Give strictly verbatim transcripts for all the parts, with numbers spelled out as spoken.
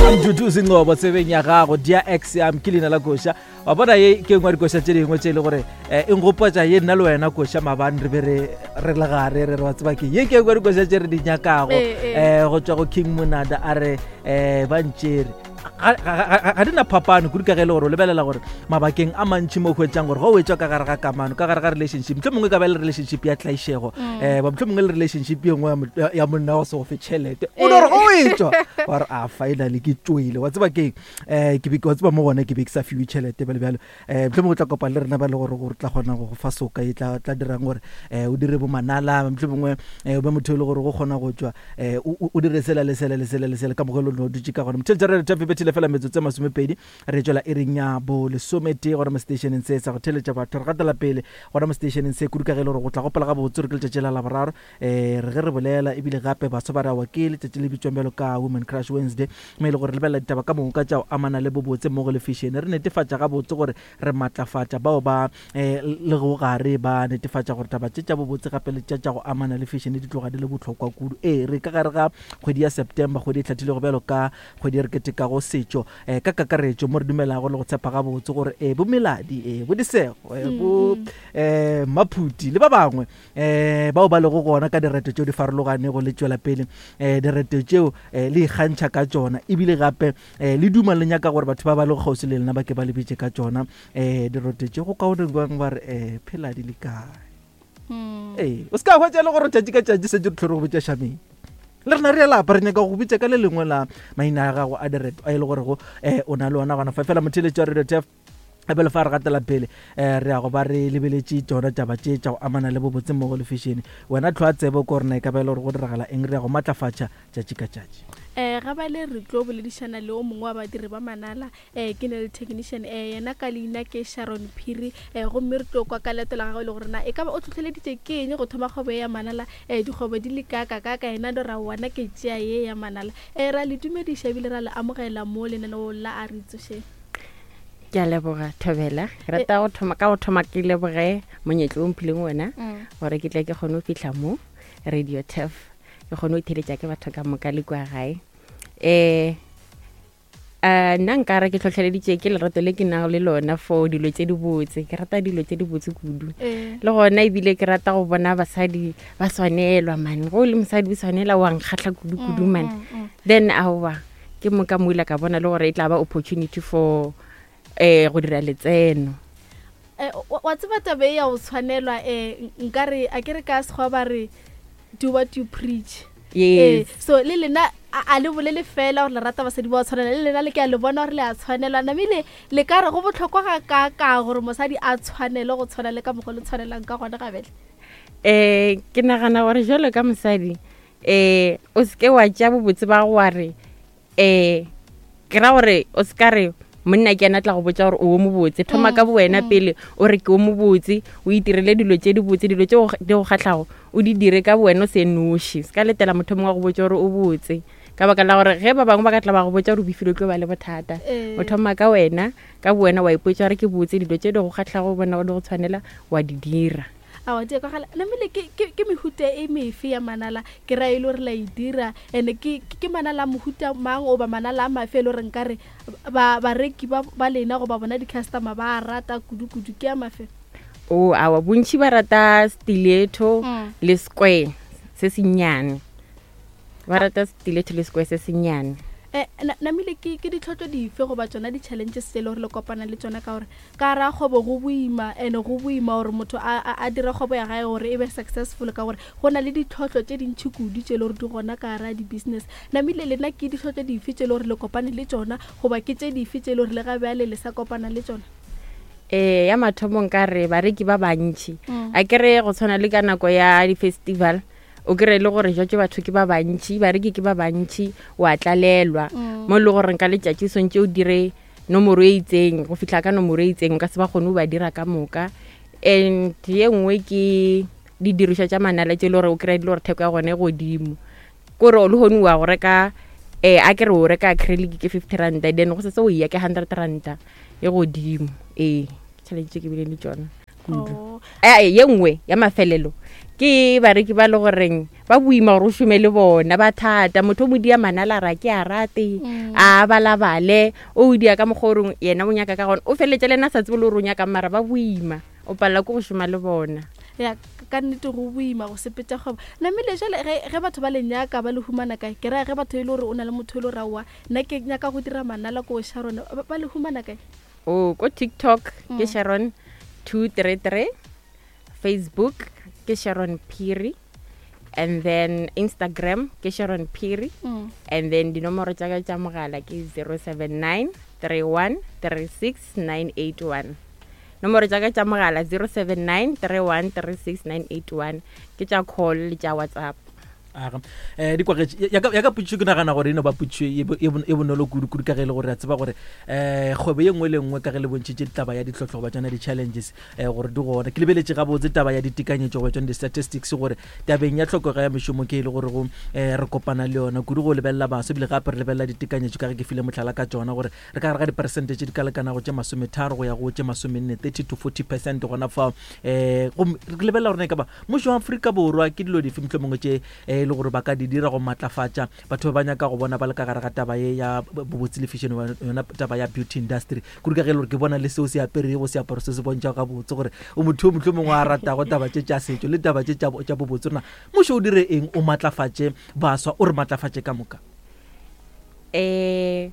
Ntutuzi Ngcobo tsebeng ya gago dia ex yam ke leina la koša. Wa bona ye ke engwe ya dikoša tše dingwe tše e le gore um e nkgopotša ye nna le wena koša maabane re be re re le gare re re wa tseba ke ye ke engwe ya dikoša tše re di nyakago um go tšwa go King Monada a re um ba ntšere ga di na phapano kudu ka ge e le gore o lebelela gore mabakeng a mantšhi mo o hwetšang gore go o etswa ka gare ga kamano, ka gare ga relationship, mohlomongwe mongwe ka ba le relationship ya tlaišego, um ba mohlomongwe le relationship ye nngwe ya monna wa se go fe tšhelete, o no re go etswa wa re a finally ke tšoile, wa tseba keng, um ke be wa tseba mo gona ke be ke sa fiwe tšhelete bjale bjalo. Um mohlomongwe o tla kopana le rena ba le gore gore tla kgona go go fa soka e tla tla dirang gore um o dire bo manala, mohlomongwe um o be motho e le gore go kgona go tšwa um o dire sela le sela le sela le sela ka mokgwa e le o dutše ka gona. Motheletša re re bethile fela metsotso e masomepedi re tšwela iring ya bo lesometee gona mo stationeng se sa go theletša batho. Re gatela pele gona mo stationeng se kudu ka ge e le gore go tla gopola gabotse gore ke letšatši la Laboraro, um re ge re bolela ebile gape baswa ba re awa ke letšatši le bitswang bjalo ka Women Crush Wednesday, mo e le gore re lebelela ditaba ka moka tša go amana le bobotse mmogo le fashion. Re netefatša gabotse gore re matlafatša bao ba um le go gare ba netefatša gore taba tše tša bobotse gape le tša tša go amana le fashion di tloga di le bohlokwa kudu. Ee, re ka gare ga kgwedi ya September, kgwedi e hlathilego bjalo ka kgwedi e re ketekago setšo um ka kakaretšo, mo re dumelago le go tshepa gabotse gore um bo Meladi, um bo Disego, um bo um Maphuti le ba bangwe um bao ba lego gona ka direto tšeo di farologanego le tšwela pele um direto tšeo um le ikgantšha ka tšona, ebile gape um le duma le nyaka gore batho ba ba lego kgauswi le lena ba ke ba le bitše ka tšona um direto tšeo. Go kaone bang ba re um phela di le kae? Ee, o se ka hwetša e le gore tšatši ka tšatši setse re tlhore go bitša šameng le rena re a lapa, re nyaka go bitša ka le lengwe la maina a gago a direto a e le gorego um o na le ona gona fa. Fela motheletši wa Radio Tef ebele fa re gatela pele um re ya go ba re lebeletše tšona taba tše tša go amana le bobotse mmogo le fashion. Wena tlhoa tsebo ko rena e ka ba e le gore go diragala eng, re ya go matlafatša tšatši ka tšatši. Um ga bale re tlo boledišana le o mongwe wa badiri ba manala, um ke nail technician, um yena ka leina ke Sharon Phiri, um gomme re tlo kwa ka leeto la gagwe le gore na e ka ba o tlhotlheleditše ke eng go thoma kgwebo ye ya manala, um dikgwebo di le kaka kaka yena do ra wana ke tšea ye ya manala. Um ra le dumediša ebile ra le amogela mo lenaneong la A Re Itsošeng. Ke a leboga Thobela. Ke rata go thoma ka go thoma ke leboge monyetla o mphileng wona gore ke tle ke kgone go fihla mo Radio Tef, ke kgone go theletša ke batho ka moka le kua gae. Um nna nkare ke tlhotlheleditše ke lerato le ke nago le lona for dilo tše dibotse. Ke rata dilo tše dibotse kudu, le gona ebile ke rata go bona basadi ba swanelwa man. Go le mosadi o swanela wa nkgahla kudu kudu man. Then aowa ke moka moila ka bona le gore e tla ba opportunity for eh go dira letseno. Wa tseba taba e ya go tshwanelwa, um nkare a ke re ka sekgwa ba re do what you preach. Yes. So le lena a le bolele fela gore le rata basadi ba tshwanela, le lena le ke a le bona gore le a tshwanelwa. Namile le ka re go botlhokwa ga kaka gore mosadi a tshwanele go tshwana le ka mokgwa le tshwanelang ka gona gabele? Eh ke nagana gore jalo ka mosadi eh o seke wa tšea bobotse ba go wa re eh ke ra gore o se ka re monna ke ena tla go botša gore o mobotse. Thoma ka bowena pele o re ke o mobotse, o itirele dilo tše dibotse, dilo tše di go kgahlago o di dire ka bowena o se noši. Se ka letela motho mongwe wa go botša gore o botse, ka baka la gore ge ba bangwe ba ka tla ba go botša gore o befile o tlo ba le bothata. O thoma ka wena ka bowena wa ipotša gore ke botse, dilo tše di go kgahlago bona di go tshwanela wa di dira. Aowa di kwagala. Namile ke ke ke mehuta e mefe ya manala ke ra e le gore la e dira, and ke ke manala a mohuta mang goba manala a mafe e le gore nkare ba bareki ba ba lena goba bona di-customer ba rata kudu-kudu ke a mafe? O aowa bontši ba rata stiletto le square se sennyane, ba rata stiletto le square se sennyane. Eh, namile ke ke ditlhotlo dife goba tsona di-challenges tse e le gore le kopana le tsona ka gore ka ra kgwebo go boima, and go boima gore motho a a dire kgwebo ya gae gore e be successful ka gore go na le ditlhotlo tše dintšhi kudu tše e le gore di gona ka gara di-business. Namile lena ke ditlhotlo dife tše e le gore le kopane le tsona goba ke tše dife tše e le gore le ga bjale le sa kopana le tsona? Eh ya mathomo nka re bareki ba bantši, a ke re go tshwana le ka nako ya di-festival o kry le gore jwatše batho ke ba bantši, bareki ke ba bantši, wa tlalelwa mo e le gore nka letšatši o swantše o dire nomoro e itseng go fihla ka nomoro e itseng, o ka se ba kgone go ba dira ka moka. And ye nngwe ke didirišwa tša manala tše e le gore o kry di le gore theko ya gona e godimo, kore le gone wa go reka eh a ke re o reka acrylic ke fifty ranta, then go setse o ya ke hundred ranta e godimo. Ee, challenge tše ke bile le tšona kudu. Eh ye nngwe ya mafelelo Ke bareki ba le goreng ba boima gore o šome le bona, ba thata. Motho o mo dia manala ra ke a rate, a balabale, o dia ka mokgwa o reng yena o nyaka ka gona. O feletse le ena a sa tsebe le gore o nyaka, mara ba boima, o palela ke go šoma le bona. Ya, ka nnete go boima go sepetša kgwebo. Namile jale ge ge batho ba le nyaka ba le humana kae? Ke raya ge batho e le gore o na le motho e le gore aowa nna ke nyaka go dira manala ko Sharon, ba ba le humana kae? O ko TikTok ke Mm. Sharon two three three, Facebook ke Sharon Phiri, and then Instagram ke Sharon Phiri, Mm. and then dinomoro tša ka tša mogala ke zero seven nine three one three six nine eight one. Nomoro tša ka tša mogala zero seven nine three one three six nine eight one, ke tša call le tša WhatsApp. Aga. Eh, di kwagetše. Ya ka, ya ka potšišo ke nagana gore e no ba potšišo e bo-, e bon-, e bonolo kudu-kudu, ka ge e le gore re a tseba gore, eh, kgwebo ye nngwe le nngwe ka ge le bontšhitše taba ya ditlhohlo goba tšona di-challenges, eh, gore di gona. Ke lebeletše gabotse taba ya ditekanyetšo goba tšona di-statistics gore tabeng ya tlhokego ya mešomo ke e le gore go, eh, re kopana le yona kudu go lebelela baswa, ebile gape re lebelela ditekanyetšo ka ge ke file mohlala ka tšona gore re ka gare ga diperesente tše di ka lekanago tše masometharo go ya go tše masomenne, thirty to forty percent gona fao. Eh, gomme re lebelela gore na e ka ba mmušo wa Afrika Borwa ke dilo dife mohlomongwe tše, eh, e le gore ba ka di dira go matlafatša batho ba ba nyaka go bona ba le ka gare ga taba ye ya bobotse le fashion, yona taba ya beauty industry. Kudu ka ge e le gore ke bona le seo se aperego, seaparo se se bontšhago gabotse gore o motho yo mohlomongwe a ratago taba tše tša setšo le taba tše tša bo-, tša bobotse. Rena mmušo o dire eng o matlafatše baswa, o re matlafatše ka moka? Eh,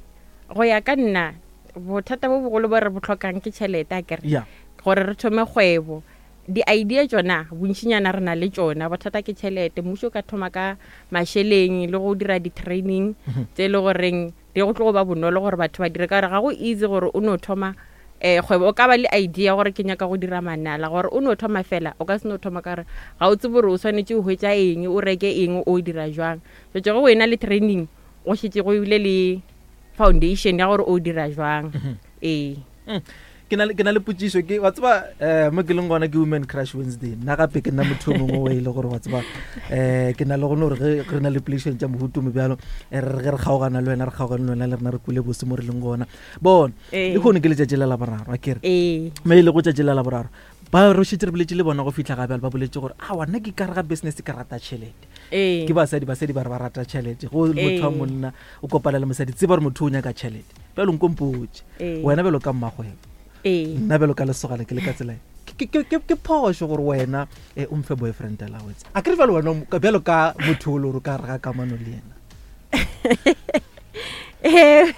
go ya ka nna, bothata bo bogolo bo re bo tlhokang ke tšhelete, akere? Yeah. Gore re thome kgwebo. Di-idea tšona bontšinyana re na le tšona, bothata ke tšhelete. Mmušo o ka thoma ka mašeleng le go dira di-training Mhm. tse e le goreng di go tlo go ba bonolo gore batho ba dire, ka gore ga go easy gore o no thoma, eh, kgwebo. O ka ba le idea gore ke nyaka go dira manala, gore o no thoma fela, o ka se no thoma ka gore ga o tsebe gore o swanetše o hwetša eng, o reke eng, o dira jwang. Jwale ge o ena le training, go šetše go bile le foundation ya gore o dira jwang. Mhm. Ee. Mm. Ke na le, ke na le potšišo, ke, wa tseba, eh, mo ke leng gona ke Women Crush Wednesday. Nna gape ke nna motho o mongwe o e le gore wa tseba, eh, ke na le gone gore ge re na le poledišano tša mohuta o mo bjalo, eh, re ge re kgaogana le wena, re kgaogane le wena, le rena re kwele bose mo re leng gona. Bona, Ee. lehono ke letšatši la Laboraro, a ke re? Ee. Me e lego tšatši la Laboraro, ba re šetše re boletše le bona go fihla ga bjale, ba boletše gore, aowa, nna ke ka re ga business ke rata tšhelete. Ee. Ke basadi, basadi ba re ba rata tšhelete. Go motho wa Ee. monna o kopana le mosadi, tseba gore motho o nyaka tšhelete. Bjalo nko mpotše, Ee. wena bjalo ka mmagwebo, Ee. nna bjalo ka lesogana ke le ka tsela e. Ke, ke, ke, ke phošo gore wena, eh, o mfe boyfriend allowance. A ke re bjalo wena o mo-, bjalo ka motho o le gore o ka re ga kamano le yena. Eh.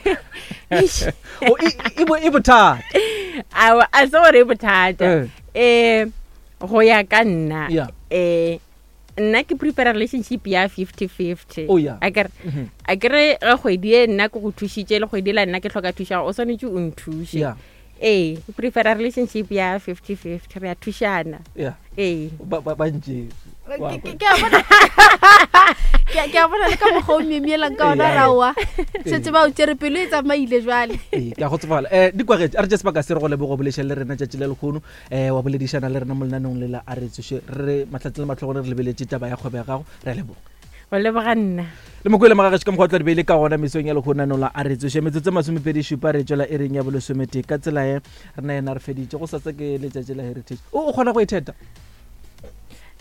O, e, e, e bo-, e bothata. Aowa, a se gore e bothata. Eh. Eh, go ya ka nna, Yeah. eh, nna ke prefera relationship ya fifty-fifty. Oh, yeah. A ke re, Mm-hmm. a ke re ge kgwedi e nna ke go thušitše, le kgwedi la nna ke hloka thušo, o swanetše o nthuše. Yeah. Ee, ke prefera relationship ya fifty-fifty, re a thušana. Yeah. Ee. Ba, ba, ba ntše. Ke, ke, ke a bona. Ke a, ke a bona le ka mokgwa o myemyelang ka ona, Ee, raowa. ee. Šetše ba o tšere pelo e tsamaile jwale. Ee, ke a go tsofala. Eh, di kwagetše, a re tše sebaka se re go leboge go boledišana le rena tšatši le lehono. Eh, wa boledišana le rena mo lenaneong le la A Re Tsoše. Re mahlatse le mahlogolo re lebeletše taba ya kgwebo ya gago. Re a leboga. Go leboga nna. Le mokwele magagešo ka mokgwa o tla di beile ka gona mesong ya lehono naneong la A Re Tsoše. Metsotso e masomepedi šupa re tšwela e reng ya bolesometee. Ka tsela e rena yena re feditše. Go sasa ke letšatši la heritage. O, o kgona go itheta?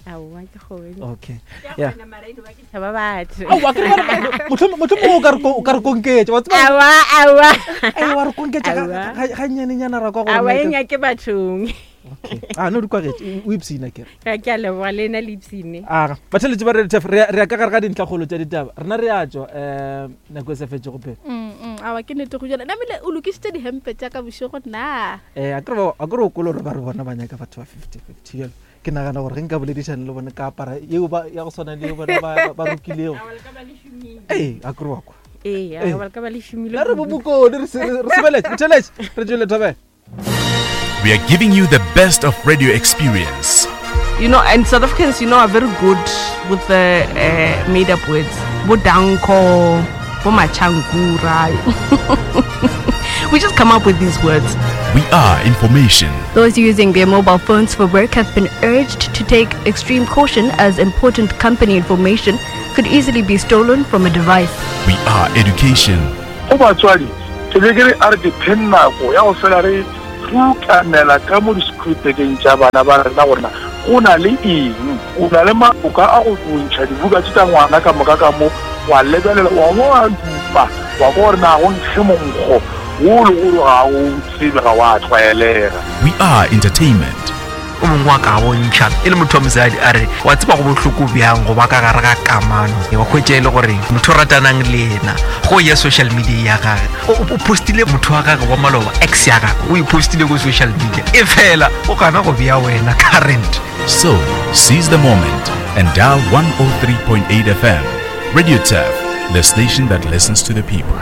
Aowa, ke kgone. Okay. Ke a Yeah. kgona, mara eno ba ke tšhaba batho. Aowa, ke re ba re, mohlomong, mohlomong o ka re ko-, o ka re konketša, wa tseba? Aowa, aowa. Ei, wa re konketša ga-, Aowa. ga-, ga nnyanenyana ra kwa gore Aowa, nna e ke- nyake bathong. Okay. Ah, no, di kwagetše, o, o ipshina ke re. Ga ke a leboga, le nna le ipshine. Aga, batheeletši ba Radio Turf, re ya, re ya ka gare ga dintlhakgolo tša ditaba. Rena re a tšwa, eh, nako e sa fetšego pele. Mm, mm, aowa, ke nnete go jalo. Namile o lokišitše dihempe tša ka bošego na? Eh, a ke re ba, a ke re o kwele gore ba re bona ba nyaka batho ba fifty-fifty bjalo. Ke nagana gore ge nka boledišana le bone ka apara yeo ba, ya go swana le yeo bona ba, ba, ba rokilego. Aowa, le ka ba le šomile. Ee, a ke re wa kwa. Ee, Ee. aowa, le ka ba le šomile La re kudu. bo bokone, re se, re, re sebeletše, re theeletše, re tšwele thobela. We are giving you the best of radio experience. You know, and South Africans, you know, are very good with the, uh, made-up words. Bo danko, bo machangura. We just come up with these words. We are information. Those using their mobile phones for work have been urged to take extreme caution as important company information could easily be stolen from a device. We are education. Go batswadi, ke be ke re a re dipheng nako ya go fela re rutanela ka mo di-school-tekeng tša bana ba rena gore na Go na le eng? O na le maboka a go ntšha dibuka tše tša ngwana ka moka ka mo, wa lebelela, wa bo wa dupa, wa kwa gore na go nkge monkgo wo le gore ga o tsebe, ga wa tlwaelega. We are entertainment. O mongwe wa ka bontšha e le motho wa mosadi a re wa tseba go bohloko bjang go ba ka gare ga kamano, wa hwetša e le gore motho o ratanang le yena go ya social media ya gage o o postile motho wa gage wa maloba, ex ya gage o e postile ko social media, e fela o gana go bea wena current. So, seize the moment and dial one oh three point eight F M. Radio Turf, the station that listens to the people.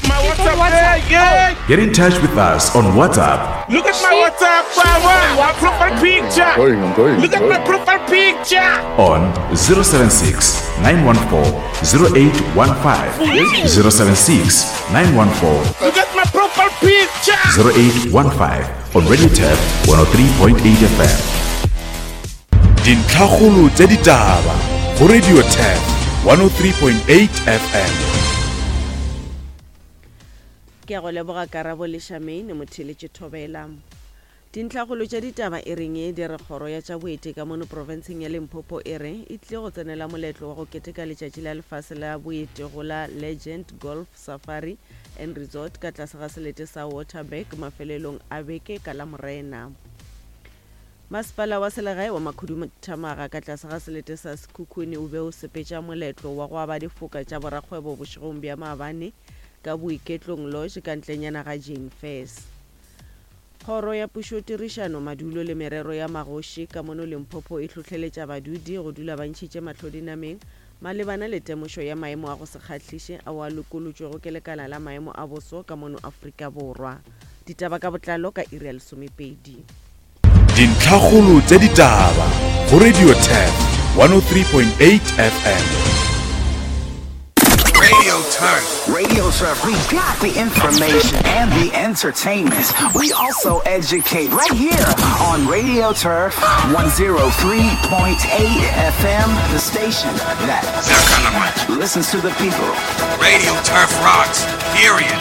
My WhatsApp, yeah. Get in touch with us on WhatsApp Look at my WhatsApp, my, my profile picture. Going, I'm going. Look at my profile picture. On zero seven six nine one four zero eight one five, zero seven six nine one four Look at my profile picture. zero eight one five on Radio Turf one oh three point eight F M. Dintlhakgolo tša ditaba go Radio Turf one oh three point eight F M. Ke a go leboga Karabo le Shamaine Motheletše. Thobela. Dintlhakgolo tša ditaba e reng e di re kgoro ya tša boeti ka mono profenseng ya Limpopo e re e tlile go tsenela moletlo wa go keteka letšatši la lefase la boeti go la Legend Golf Safari and Resort ka tlase ga selete sa Waterberg mafelelong a beke ka la Morena. Masepala wa selegae wa Makhuduthamaga ka tlase ga selete sa Sekhukhune o be o sepetša moletlo wa go aba difoka tša borakgwebo bošegong bja maabane ka Boiketlong Lodge ka ntlenyana ga Jane Fairs. Kgoro ya pušotirišano, madulo le merero ya magoši ka mono Limpopo e hlohleletša badudi go dula ba ntšhitše mahlo dinameng malebana le temošo ya maemo a go se kgahliše ao a lokolotšwego ke lekala la maemo a boso ka mono Afrika Borwa. Ditaba ka botlalo ka iri ya lesomepedi. Dintlhakgolo tša ditaba go Radio Turf one oh three point eight F M. Radio Turf. Radio Turf, we got the information and the entertainment. We also educate right here on Radio Turf one oh three point eight F M, the station that listens to the people. Radio Turf rocks. Period.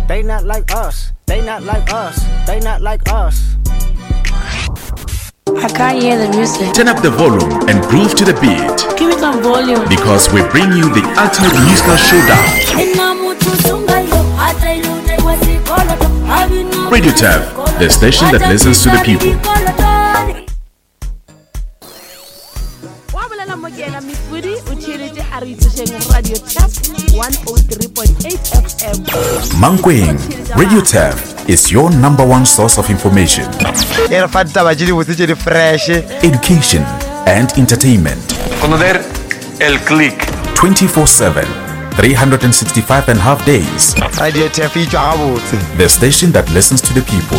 They not like us. They not like us. They not like us. I can't hear the music. Turn up the volume and groove to the beat Give me some volume. Because we bring you the ultimate musical showdown. Radio Turf, the station that listens to the people. Wa bolela mo ke ena Mefudi o theeletše a re itsošeng Radio Turf one oh three point eight F M. Mankweng, Radio Turf is your number one source of information, E re fa ditaba tše dibotse tše di fresh, education, and entertainment. Conocer el click. twenty-four seven, three hundred sixty-five and a half days. Radio Turf e tšwa gabotse. The station that listens to the people.